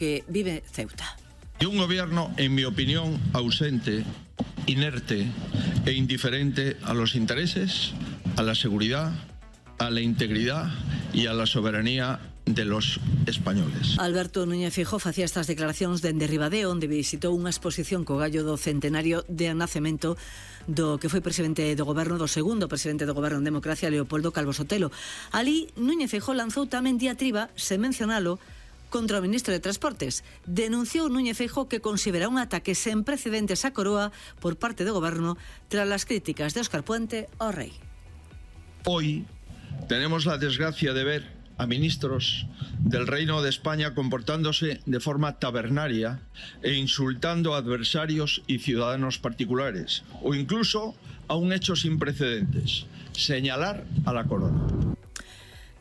que vive Ceuta. Y un gobierno, en mi opinión, ausente, inerte e indiferente a los intereses, a la seguridad, a la integridad y a la soberanía de los españoles. Alberto Núñez Feijóo facía estas declaracións dende Ribadeo, onde visitou unha exposición co gallo do centenario de nacemento do que foi presidente do goberno, do segundo presidente do goberno en democracia, Leopoldo Calvo Sotelo. Ali, Núñez Feijóo lanzou tamén diatriba, sen mencionalo, contra o ministro de Transportes. Denunciou Núñez Feijóo que considera un ataque sen precedentes á Coroa por parte do goberno tras as críticas de Óscar Puente ao rei. Hoy tenemos la desgracia de ver a ministros del Reino de España comportándose de forma tabernaria e insultando a adversarios y ciudadanos particulares, o incluso a un hecho sin precedentes, señalar a la corona.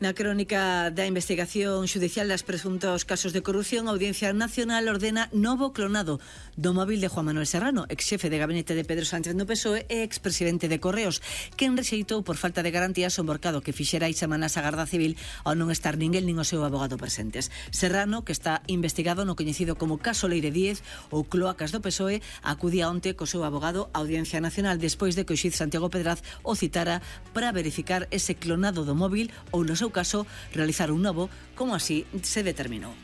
Na crónica da investigación xudicial das presuntos casos de corrupción, a Audiencia Nacional ordena novo clonado do móvil de Juan Manuel Serrano, exxefe de gabinete de Pedro Sánchez no PSOE e expresidente de Correos, quen rexeitou por falta de garantías o emborcado que fixera hai semanas a Garda Civil ao non estar ninguén nin o seu abogado presentes. Serrano, que está investigado no coñecido como caso Leire 10 ou cloacas do PSOE, acudía onte co seu abogado á Audiencia Nacional despois de que o xuíz Santiago Pedraz o citara para verificar ese clonado do móvil ou no seu caso realizar un novo, como así se determinou.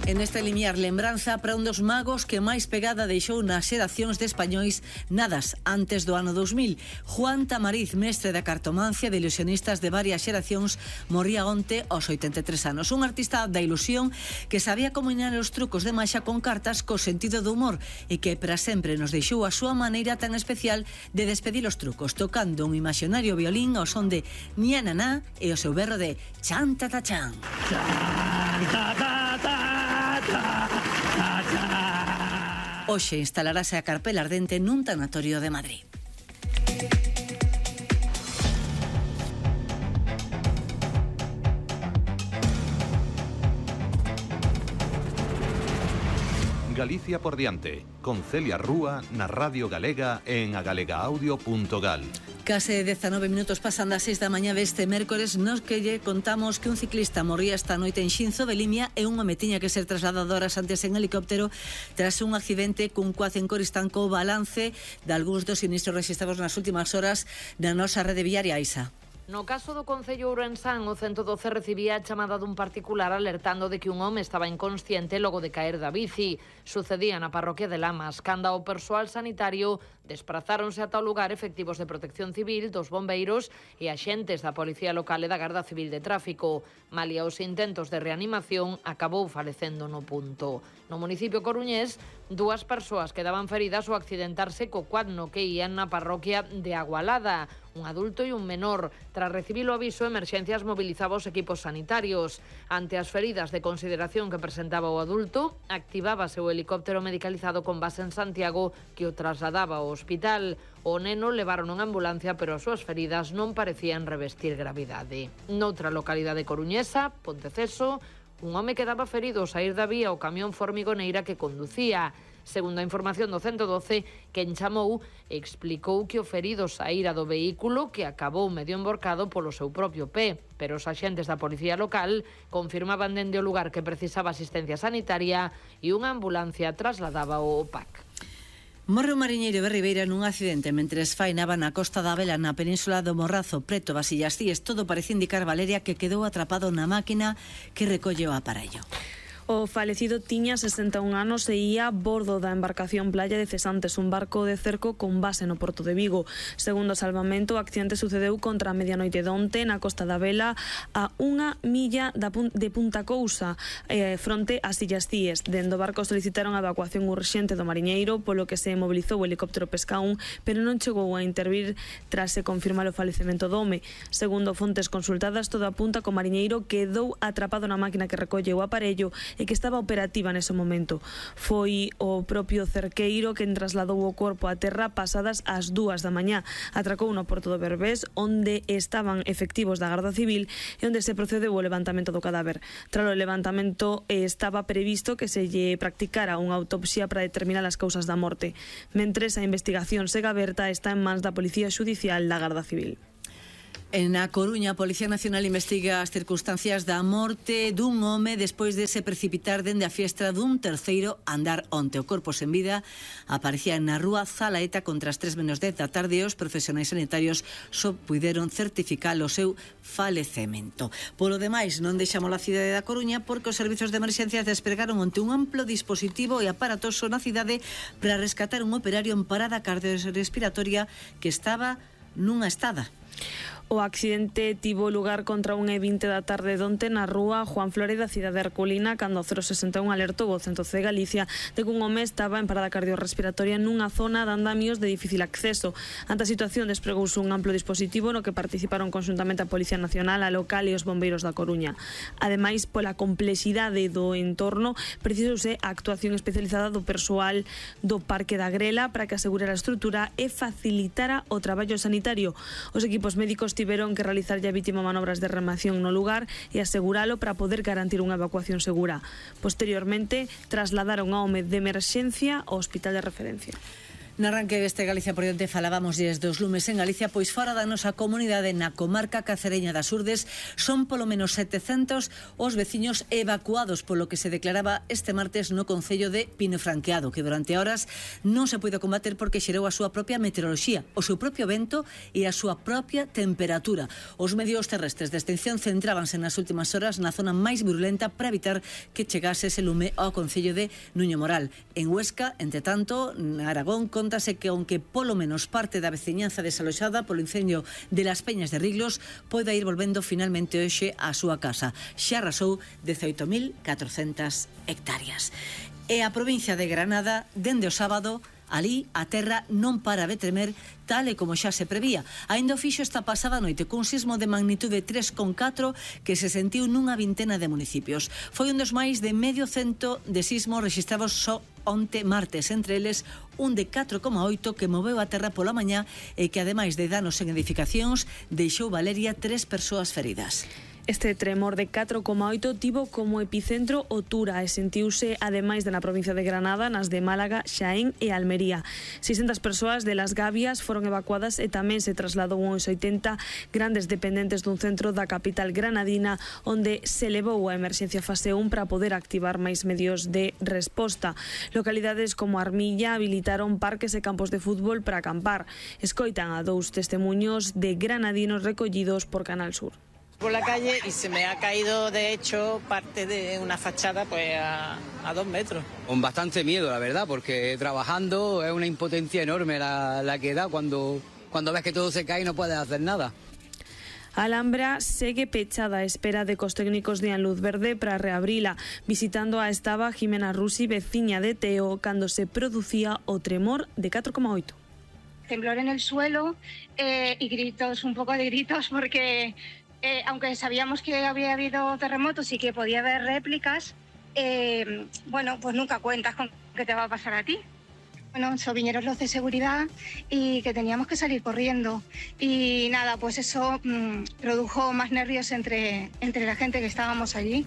En este limiar lembranza para un dos magos que máis pegada deixou nas xeracións de españois nadas antes do ano 2000. Juan Tamariz, mestre da cartomancia de ilusionistas de varias xeracións, morría onte aos 83 anos. Un artista da ilusión que sabía combinar os trucos de maxa con cartas co sentido do humor e que para sempre nos deixou a súa maneira tan especial de despedir os trucos, tocando un imaxinario violín ao son de Niananá e o seu berro de chan ta ta chan. Chan ta ta ta. Hoxe instalarase a carpela ardente nun tanatorio de Madrid. Galicia por diante, con Celia Rúa na Radio Galega en agalegaaudio.gal. Case 19 minutos pasan das 6 da mañá deste mércores, nos que lle contamos que un ciclista morría esta noite en Xinzo de Limia e un home tiña que ser trasladado horas antes en helicóptero tras un accidente cun coace en Coristanco. O balance de algúns dos sinistros registrados nas últimas horas na nosa rede viaria, Isa. No caso do Concello Ourensán, o 112 recibía a chamada dun particular alertando de que un home estaba inconsciente logo de caer da bici. Sucedía na parroquia de Lamas, canda o persoal sanitario desprazáronse ata o lugar efectivos de Protección Civil, dos bombeiros e axentes da Policía Local e da Garda Civil de Tráfico. Malia os intentos de reanimación, acabou falecendo no punto. No municipio coruñés, 2 persoas quedaban feridas ao accidentarse co quad no que ían na parroquia de Agualada. Un adulto e un menor. Tras recibir o aviso, Emerxencias mobilizaba os equipos sanitarios. Ante as feridas de consideración que presentaba o adulto, activábase o helicóptero medicalizado con base en Santiago que o trasladaba ao hospital. O neno levaron en ambulancia, pero as súas feridas non parecían revestir gravidade. Noutra localidade coruñesa, Ponteceso, un home quedaba ferido ao saír da vía o camión formigoneira que conducía. Segundo a información do 112, quen chamou explicou que o ferido saíra do vehículo que acabou medio emborcado polo seu propio pé, pero os axentes da Policía Local confirmaban dende o lugar que precisaba asistencia sanitaria e unha ambulancia trasladaba o PAC. Morre un mariñeiro de Ribeira nun accidente mentres fainaba na Costa da Vela na península do Morrazo, preto das Illas Cíes. Todo parece indicar, Valeria, que quedou atrapado na máquina que recolle o aparello. O falecido tiña 61 anos e ía a bordo da embarcación Playa de Cesantes, un barco de cerco con base no Porto de Vigo. Segundo o salvamento, o accidente sucedeu contra a medianoite de onte na Costa da Vela a 1 milla de Punta Cousa, fronte ás Illas Cíes. Dende o barco solicitaron a evacuación urxente do mariñeiro, polo que se mobilizou o helicóptero Pescaún, pero non chegou a intervir tras se confirmar o falecemento do home. Segundo fontes consultadas, todo apunta que o mariñeiro quedou atrapado na máquina que recolle o aparello e que estaba operativa nese momento. Foi o propio cerqueiro quen trasladou o corpo a terra pasadas as 2 da mañá. Atracou no Porto do Berbés, onde estaban efectivos da Garda Civil e onde se procedeu o levantamento do cadáver. Tras o levantamento estaba previsto que se lle practicara unha autopsia para determinar as causas da morte. Mentres a investigación segue aberta, está en mans da Policía Xudicial da Garda Civil. En A Coruña, a Policía Nacional investiga as circunstancias da morte dun home despois de se precipitar dende a fiestra dun terceiro andar onte. O corpo sen vida aparecía na rúa Zalaeta contra as 3:10 da tarde e os profesionais sanitarios só puideron certificar o seu falecemento. Polo demais, non deixamos a cidade da Coruña porque os servizos de emerxencias despregaron onte un amplo dispositivo e aparatoso na cidade para rescatar un operario en parada cardiorrespiratoria que estaba nunha estada. O accidente tivo lugar contra 1:20 da tarde donte na rúa Juan Flore da cidade Herculina, cando o 061 alertou o Centro de Galicia de que un home estaba en parada cardiorrespiratoria nunha zona de andamios de difícil acceso. Ante a situación despregouse un amplo dispositivo no que participaron conxuntamente a Policía Nacional, a local e os bombeiros da Coruña. Ademais, pola complexidade do entorno, precisouse a actuación especializada do persoal do Parque da Grela para que asegurara a estrutura e facilitara o traballo sanitario. Os equipos médicos tiveron que realizar a vítima manobras de reanimación no lugar e aseguralo para poder garantir unha evacuación segura. Posteriormente, trasladaron ao home de emerxencia ao hospital de referencia. No arranque deste Galicia por diante falábamos dos lumes en Galicia, pois fora da nosa comunidade na comarca cacereña das Urdes son polo menos 700 os veciños evacuados polo que se declaraba este martes no concello de Pinofranqueado, que durante horas non se puido combater porque xerou a súa propia meteoroloxía, o seu propio vento e a súa propia temperatura. Os medios terrestres de extinción centrábanse nas últimas horas na zona máis virulenta para evitar que chegase ese lume ao concello de Nuño Moral. En Huesca, entre tanto, na Aragón, contase que aunque polo menos parte da veciñanza desaloxada polo incendio de Las Peñas de Riglos poida ir volvendo finalmente hoxe á súa casa. Xa arrasou 18.400 hectáreas. E a provincia de Granada, dende o sábado, ali a terra non para de tremer tal e como xa se prevía. Ainda o fixo esta pasada noite cun sismo de magnitude 3,4 que se sentiu nunha vintena de municipios. Foi un dos máis de medio cento de sismos registrados só onte martes, entre eles un de 4,8 que moveu a terra pola mañá e que ademais de danos en edificacións deixou Valeria 3 persoas feridas. Este tremor de 4,8 tivo como epicentro o Tura e sentiuse ademais na provincia de Granada, nas de Málaga, Xaén e Almería. 600 persoas de Las Gavias foron evacuadas e tamén se trasladou uns 80 grandes dependentes dun centro da capital granadina onde se levou a emerxencia fase 1 para poder activar máis medios de resposta. Localidades como Armilla habilitaron parques e campos de fútbol para acampar. Escoitan a 2 testemuños de granadinos recollidos por Canal Sur. Por la calle y se me ha caído de hecho parte de una fachada pues a 2 metros. Con bastante miedo, la verdad, porque trabajando es una impotencia enorme la que da cuando ves que todo se cae y no puedes hacer nada. A Alhambra segue pechada a espera de que os técnicos dean luz verde para reabrila. Visitando a estaba Jimena Rusi, veciña de Teo, cando se producía o tremor de 4,8. Temblor en el suelo y gritos, un poco de gritos, porque aunque sabíamos que había habido terremotos y que podía haber réplicas, bueno, pues nunca cuentas con qué te va a pasar a ti. Bueno, vinieron los de seguridad y que teníamos que salir corriendo. Y nada, pues eso produjo más nervios entre la gente que estábamos allí.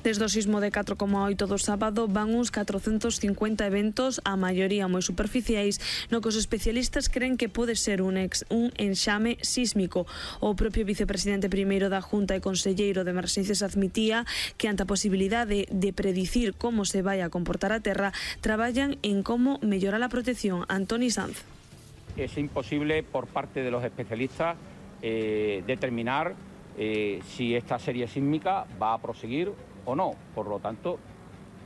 Desde o sismo de 4,8 do sábado van uns 450 eventos, a maioría moi superficiais, no que os especialistas creen que pode ser un enxame sísmico. O propio vicepresidente primeiro da Junta e conselleiro de Emerxencias admitía que ante a posibilidade de predicir como se vai a comportar a terra, traballan en como mellorar a protección. Antoni Sanz. Es imposible por parte de los especialistas determinar si esta serie sísmica va a proseguir o no. Por lo tanto,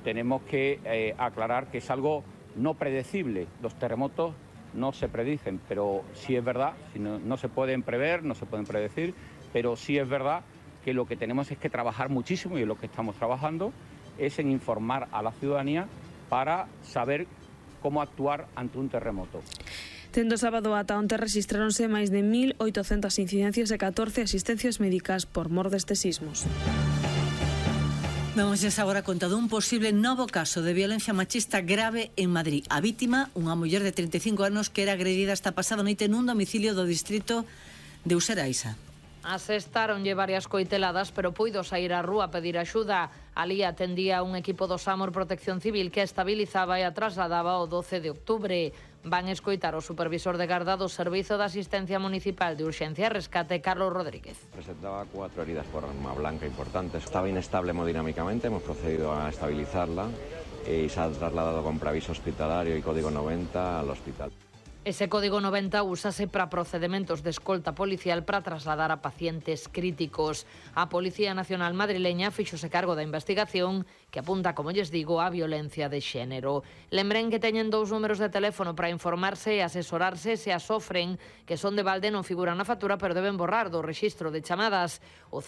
tenemos que aclarar que es algo no predecible. Los terremotos no se predicen, pero sí es verdad, no se pueden prever, no se pueden predecir, pero sí es verdad que lo que tenemos es que trabajar muchísimo, y lo que estamos trabajando es en informar a la ciudadanía para saber cómo actuar ante un terremoto. Tendo sábado ata onte rexistráronse máis de 1.800 incidencias e 14 asistencias médicas por mor destes sismos. Vamos agora conta dun posible novo caso de violencia machista grave en Madrid. A vítima, unha muller de 35 anos que era agredida esta pasada noite nun domicilio do distrito de Useraisa. Asestáronlle varias coiteladas, pero puido sair á rúa a pedir axuda. Alí atendía un equipo do SAMUR Protección Civil que estabilizaba e a trasladaba o 12 de octubre. Van escoitar o supervisor de garda do Servizo de Asistencia Municipal de Urxencia e Rescate, Carlos Rodríguez. Presentaba 4 heridas por arma blanca importantes. Estaba inestable hemodinámicamente, hemos procedido a estabilizarla y se ha trasladado con preaviso hospitalario y código 90 al hospital. Ese código 90 úsase para procedimentos de escolta policial para trasladar a pacientes críticos. A Policía Nacional madrileña fíxose cargo da investigación que apunta, como lles digo, a violencia de xénero. Lembren que teñen 2 números de teléfono para informarse e asesorarse se as sofren, que son de balde non figuran na factura, pero deben borrar do rexistro de chamadas. O